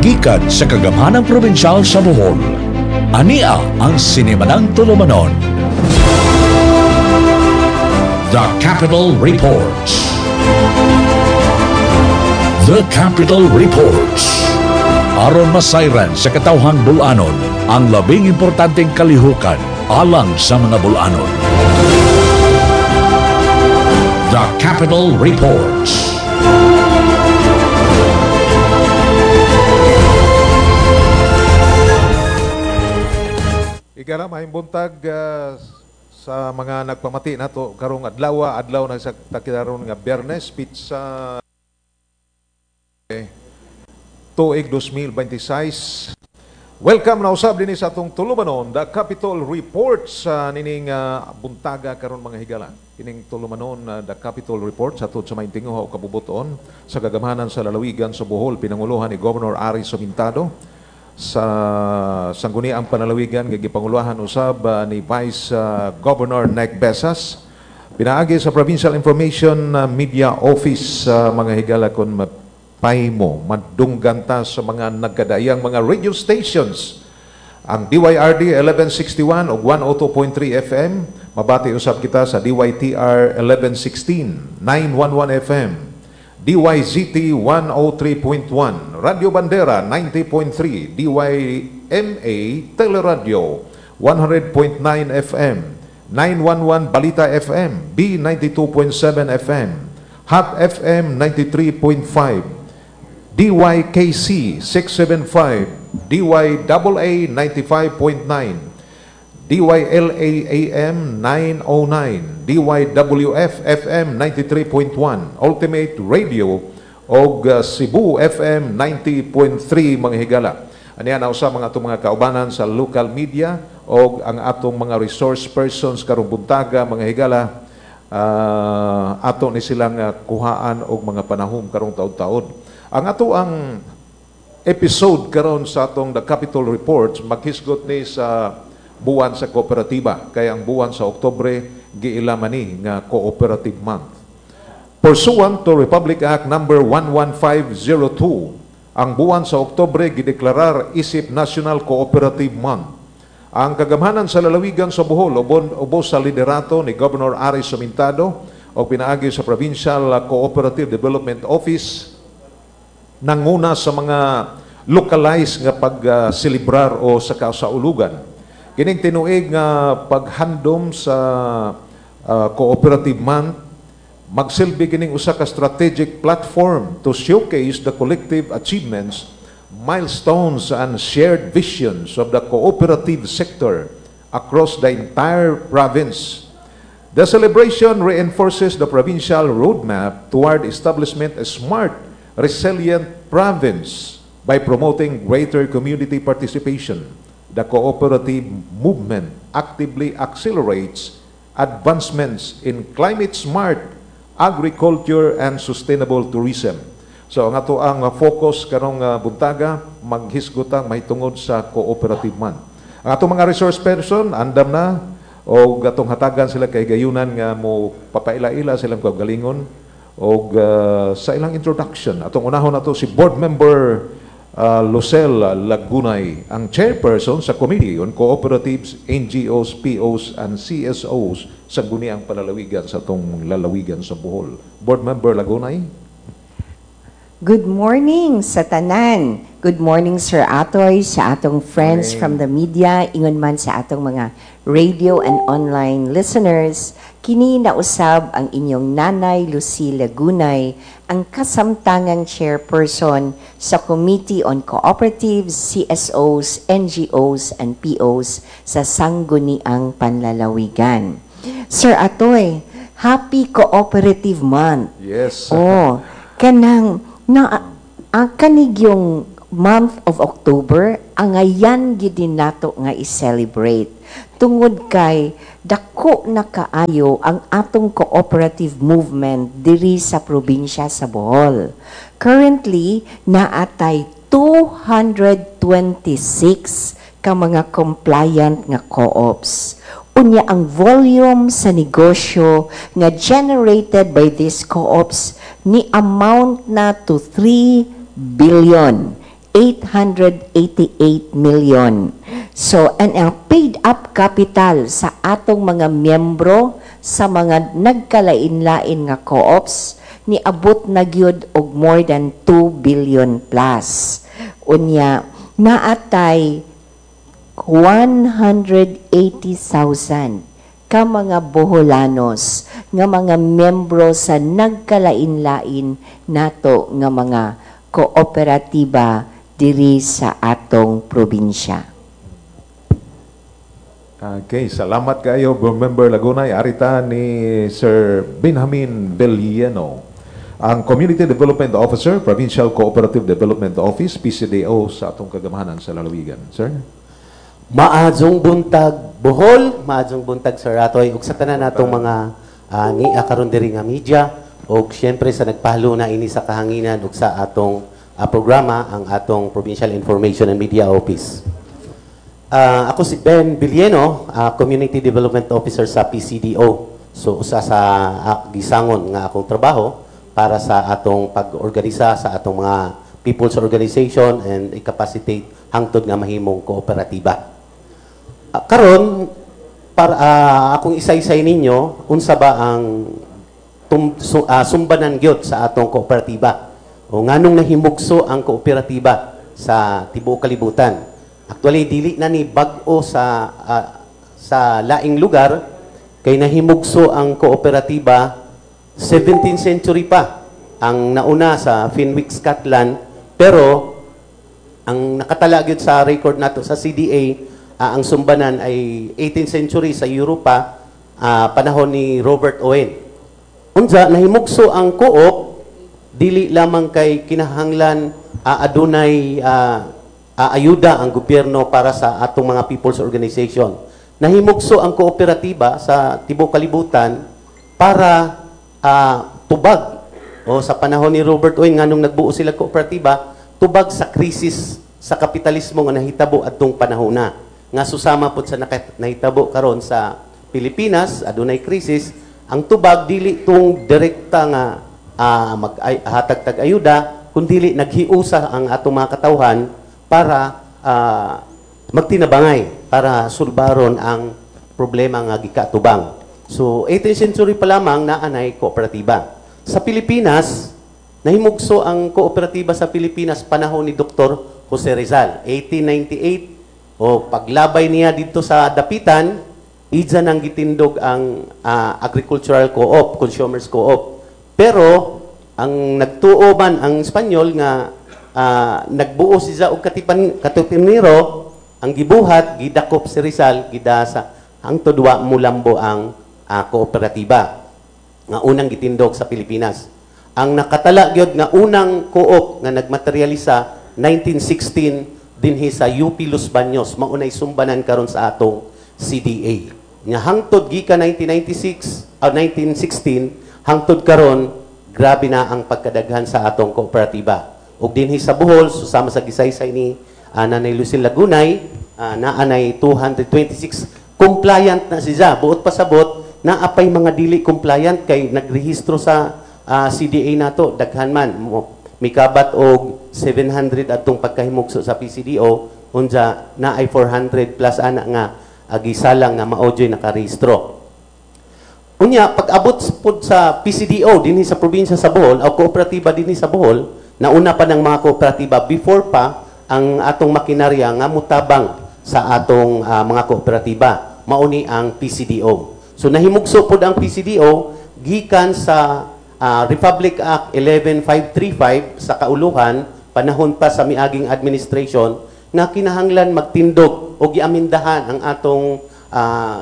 Gikan sa Kagamhanang Probinsyal sa Bohol. Ania ang sinimanang tulumanon. The Capitol Reports. The Capitol Reports. Aron masayran sa katawhang Bol-anon ang labing importanteng kalihukan alang sa mga Bol-anon. The Capitol Reports. Igara, maayong buntag sa mga nagpamati nato karong adlaw, adlaw na sa takilaron nga Biyernes, pitsa tuig 2026. Welcome na usab dinhi sa atong tulumanon, The Capitol Report, sa nining buntaga karon, mga higala. Kining tulumanon, The Capitol Report, sa sa maayong tinguha o kabubuton sa kagamhanan sa lalawigan sa Bohol, pinanguluhan ni Governor Ari Sumintado sa Sangguniang Panlalawigan nga gipanguluhan usab ni Vice Governor Nec Besas. Pinaagi sa Provincial Information Media Office, mga higala, kon mapaymo, madunggan ta sa mga nagkadaiyang mga radio stations. Ang DYRD 1161 ug 102.3 FM, mabati usab kita sa DYTR 1116, 911 FM, DYZT 103.1, Radio Bandera 90.3, DYMA Teleradio 100.9 FM, 911 Balita FM, B92.7 FM, Hot FM 93.5, DYKC 675, DYAA 95.9, DYLA AM 909, DYWF FM 93.1, Ultimate Radio og Cebu FM 90.3, mga higala. Aniya na usa mga atong mga kaubanan sa local media og ang atong mga resource persons karong buntaga, mga higala, ato ni silang kuhaan og mga panahom karong taud-taod. Ang ato ang episode karon sa atong The Capitol Reports maghisgot ni sa buwan sa kooperatiba, kaya ang buwan sa Oktubre giila man ni nga Cooperative Month. Pursuant to Republic Act number 11502, ang buwan sa Oktubre gideklarar isip National Cooperative Month. Ang kagamhanan sa lalawigan sa Bohol ubos sa liderato ni Governor Ari Sumintado o pinaagi sa Provincial Cooperative Development Office nanguna sa mga localized nga pagselebrar o sa kasaulugan. Kining tinuig nga paghandom sa Cooperative Month magsilbi kining usa ka strategic platform to showcase the collective achievements, milestones and shared visions of the cooperative sector across the entire province. The celebration reinforces the provincial roadmap toward establishment a smart, resilient province by promoting greater community participation. The cooperative movement actively accelerates advancements in climate smart agriculture and sustainable tourism. So ang ato ang focus karong buntaga maghisgutang mahitungod sa Cooperative Month. Ang atong mga resource person andam na og atong hatagan sila kay gayunan nga mo papaila-ila silang kaugalingon og sa ilang introduction. Atong unahon nato si Board Member Lucel Lagunay, ang chairperson sa Committee on Cooperatives, NGOs, POs, and CSOs sa Sangguniang Panlalawigan sa atong lalawigan sa Bohol. Board Member Lagunay. Good morning sa tanan. Good morning, Sir Atoy, sa atong friends Morning. From the media, ingon man sa atong mga radio and online listeners. Kini na usab ang inyong nanay Lucy Lagunay, ang kasamtangang chairperson sa Committee on Cooperatives, CSOs, NGOs, and POs sa Sangguniang Panlalawigan. Sir Atoy, Happy Cooperative Month. Yes. Oh, kanang na ang kanig yung month of October angayan gid nato nga i-celebrate tungod kay dako na kaayo ang atong cooperative movement diri sa probinsya sa Bohol. Currently, naatay 226 ka mga compliant nga co-ops. Unya ang volume sa negosyo nga generated by these co-ops ni amount na to 3 billion 888 million. So, and ang paid up capital sa atong mga miyembro sa mga nagkalain-lain nga co-ops niabot na gyud og more than 2 billion plus. Unya, naatay 180,000 ka mga Boholanos nga mga membro sa nagkalain-lain nato nga mga kooperatiba diri sa atong probinsya. Okay, salamat kayo, Member Lagunay. Arita ni Sir Benjamin Bellieno, ang Community Development Officer, Provincial Cooperative Development Office, PCDO, sa atong kagamahanan sa lalawigan. Sir? Maayong buntag, Bohol, maayong buntag, Sir Atoy, ug sa tanan natong mga nia karon diri nga media ug syempre sa nagpahalo na ini sa kahanginan ug sa atong programa, ang atong Provincial Information and Media Office. Ako si Ben Villeno, Community Development Officer sa PCDO. So usa sa gisangon nga akong trabaho para sa atong pag-organisa sa atong mga people's organization and i-capacitate hangtod nga mahimong kooperatiba. Karon para akong isaysay ninyo unsa ba ang sumbanan gyud sa atong kooperatiba o nganong nahimugso ang kooperatiba sa tibuok kalibutan. Actually, dili na ni bag-o sa laing lugar kay nahimugso ang kooperatiba 17th century pa. Ang nauna sa Fenwick, Scotland, pero ang nakatala gyud sa record nato sa CDA, ang sumbanan ay 18th century sa Europa, panahon ni Robert Owen. Unsa nahimugso ang co-op dili lamang kay kinahanglan adunay ayuda ang gobyerno para sa atong mga people's organization. Nahimugso ang kooperatiba sa tibuok kalibutan para tubag o sa panahon ni Robert Owen, nganong nagbuo sila kooperatiba, tubag sa krisis sa kapitalismo nga nahitabo adtong panahona nga susama pud sa nahitabo karon sa Pilipinas. Adunay krisis, ang tubag dili tung direkta nga mag hatag tag ayuda, kundili naghiusa ang atong mga katawhan para magtinabangay para sulbaron ang problema nga gikatubang. So 18th century pa lamang naa nay kooperatiba. Sa Pilipinas, nahimugso ang kooperatiba sa Pilipinas panahon ni Dr. Jose Rizal, 1898, o paglabay niya dito sa Dapitan, ija nang gitindog ang agricultural co-op, consumers co-op. Pero ang nagtuo man ang Espanyol nga nagbuo siya og katipan katipunero, ang gibuhat gidakop si Rizal, gidasa hangtod wa mulambo ang kooperatiba nga unang gitindog sa Pilipinas. Ang nakatala gyud nga unang co-op nga nagmaterialisa, 1916 dinhi sa UP Los Baños, maunay sumbanan karon sa atong CDA. Nga hangtod gikan 1996 o 1916 hangtod karon, grabe na ang pagkadaghan sa atong kooperatiba. Ug dinhi sa Bohol, susama sa gisaysay ni Nanay Lucille Lagunay, naanay 226 compliant na siya. Buot pasabot, naapay mga dili compliant kay nagrehistro sa CDA nato daghan man mo mikabat og 700 atong pagkahimugso sa PCDO. Unja naay 400 plus ana nga agisalang nga mao juy nakarehistro. Unya, pag-abot pod sa PCDO dinhi sa probinsya sa Bohol o kooperatiba dinhi sa Bohol, nauna pa ng mga kooperatiba before pa ang atong makinarya nga mutabang sa atong mga kooperatiba, mauni ang PCDO. So nahimugso pod ang PCDO gikan sa Republic Act 11535 sa kauluhan, panahon pa sa miaging administration, na kinahanglan magtindog o giamindahan ang atong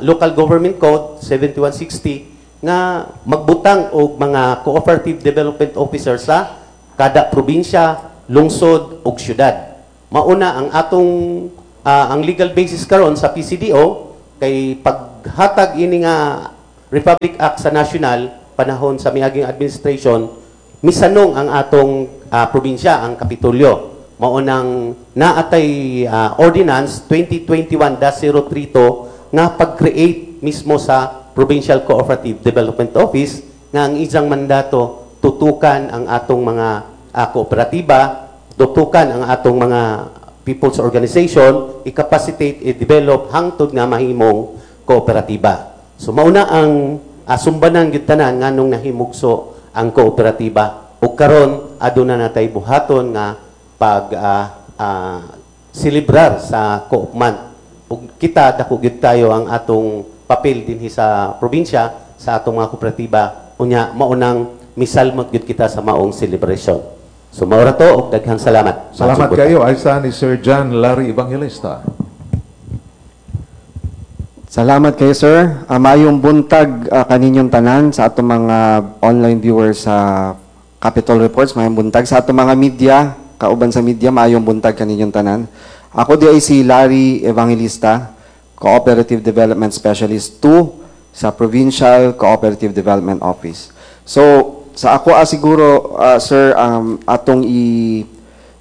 Local Government Code 7160 nga magbutang og mga cooperative development officer sa kada probinsya, lungsod ug syudad. Mauna ang atong ang legal basis karon sa PCDO kay paghatag ini nga Republic Act sa national panahon sa miaging administration, misanong ang atong probinsya, ang Kapitolyo. Mao nang naatay Ordinance 2021-032 nga pag-create mismo sa Provincial Cooperative Development Office nga ang isang mandato tutukan ang atong mga kooperatiba. Tutukan ang atong mga people's organization, i-capacitate, i-develop hangtod nga mahimong kooperatiba. So mauna ang sumbanan gyud tanan nganong nahimugso ang kooperatiba ug karon aduna natay buhaton nga pag selebrar sa Co-op Month. Ug kita dako gyud tayo ang atong papel dinhi sa probinsya sa atong mga kooperatiba, unya maunang misalmot gyud kita sa maong celebration. So mao ra to ug daghang salamat. Salamat Magsugod. Kayo. Ay sa ni Sir John Larry Evangelista. Salamat kayo, sir. Maayong buntag kaninyong tanan sa atong mga online viewers sa Capitol Reports. Maayong buntag sa atong mga media, kauban sa media, maayong buntag kaninyong tanan. Ako di ay si Larry Evangelista, Cooperative Development Specialist 2 sa Provincial Cooperative Development Office. So, sa ako siguro, sir, atong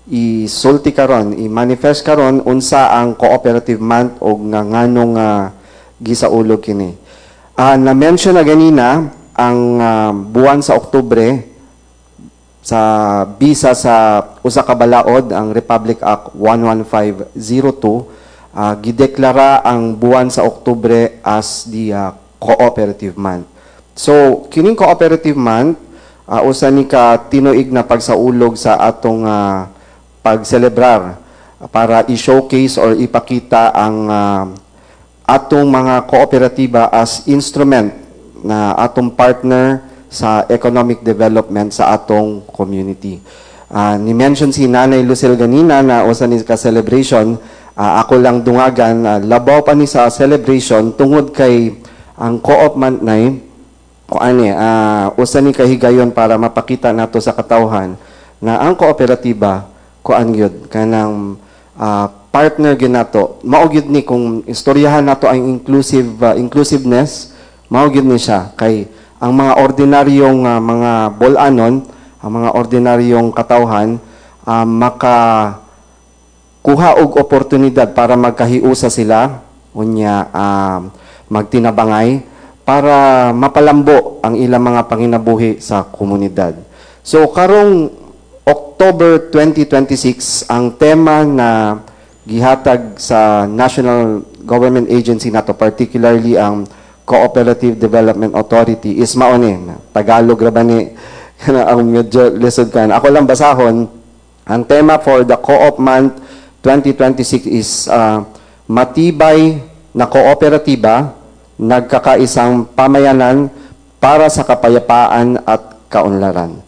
isulti karon, i-manifest karon unsa ang Cooperative Month og nga nganong gisaulog kini. Na-mention na ganina ang buwan sa Oktubre sa bisa sa usa ka balaod, ang Republic Act 11502, gideklara ang buwan sa Oktubre as the Cooperative Month. So kining Cooperative Month, usa ni ka tinuig na pagsaulog sa atong pagselebrar para i-showcase or ipakita ang atong mga kooperatiba as instrument na atong partner sa economic development sa atong community. Ni-mention si Nanay Lucille ganina na usa ni ka celebration, ako lang dungagan, labaw pa ni sa celebration tungod kay ang Co-op Month nay o ani usa ni kahigayon para mapakita nato sa katawhan na ang kooperatiba kuan gyud kanang partner gyud nato. Mao gyud ni kung istoryahan nato ang inclusiveness, mao gyud ni siya kay ang mga ordinaryong mga bol-anon, ang mga ordinaryong katawhan, maka kuha og oportunidad para magkahiusa sila, unya magtinabangay para mapalambo ang ilang mga panginabuhi sa komunidad. So karong October 2026, ang tema na gihatag sa National Government Agency nato, particularly ang Cooperative Development Authority, is mao ni. Tagalog ra ba ni ang medyo lisod kan. Ako lang basahon. Ang tema for the Co-op Month 2026 is matibay na kooperatiba, nagkakaisang pamayanan para sa kapayapaan at kaunlaran.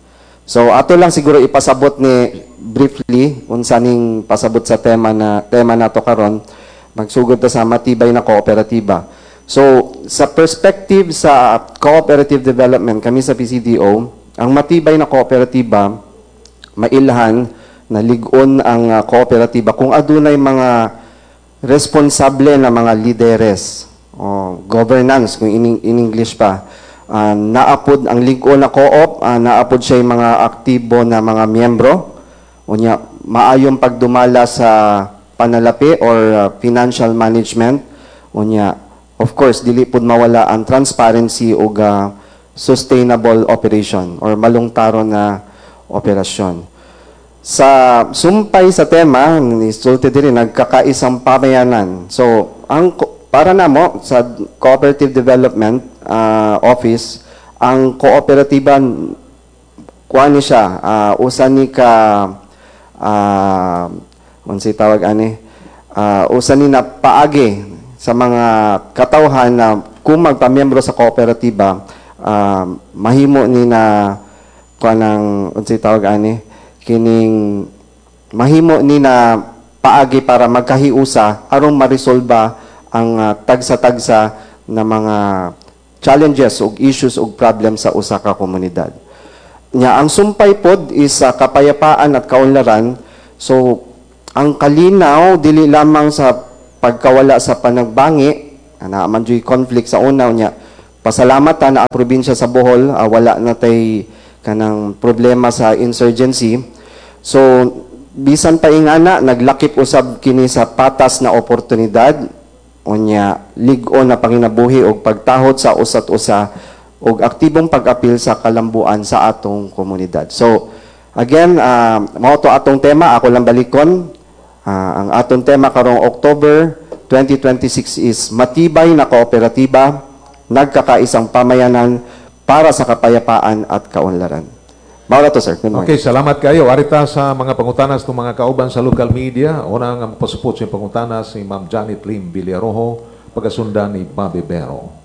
So ato lang siguro ipasabot ni briefly unsa ning pasabot sa tema nato karon. Magsugod ta sa matibay na kooperatiba. So sa perspective sa cooperative development, kami sa PCDO, ang matibay na kooperatiba, mailhan na lig-on ang kooperatiba kung adunay mga responsable na mga lideres o governance kung in English pa. Naapod ang lig-on na co-op, naapod siya yung mga aktibo na mga miyembro, unya maayong pagdumala sa panalapi or financial management, unya of course dili pud mawala ang transparency ug sustainable operation or malungtaron na operasyon. Sa sumpay sa tema, ni sulti diri, nagkakaisang pamayanan. So, ang para namo sa Cooperative Development Office, ang kooperatiba kuan ni siya, usa ni ka unsay tawag ani, usa ni na paagi sa mga katawhan na kung magpamiyembro sa kooperatiba, mahimo ni na kuan ng unsay tawag ani, kining mahimo ni na paagi para magkahiusa aron maresolba ang tagsa-tagsa na mga challenges ug issues ug problems sa usa ka komunidad. Nya ang sumpay pod is sa kapayapaan at kaunlaran. So ang kalinaw dili lamang sa pagkawala sa panagbangi, na man juy conflict sa una, nya pasalamatan na ang probinsya sa Bohol wala na tay kanang problema sa insurgency. So bisan pa ingana, naglakip usab kini sa patas na oportunidad, unya lig-on na panginabuhi og pagtahod sa usat usa ug aktibong pag-apil sa kalambuan sa atong komunidad. So Again, mao to atong tema, ako lang balikon. Ang atong tema karong October 2026 is "Matibay na Kooperatiba, Nagkakaisang Pamayanan para sa Kapayapaan at Kaunlaran." Mao ra to, sir. Good morning. Okay, salamat kayo. Ari ta sa mga pangutanas ng mga kauban sa local media. Una nga mapasupot sa pangutana si Ma'am Janet Lim Villarojo, pagkasundan ni Bobby Bero.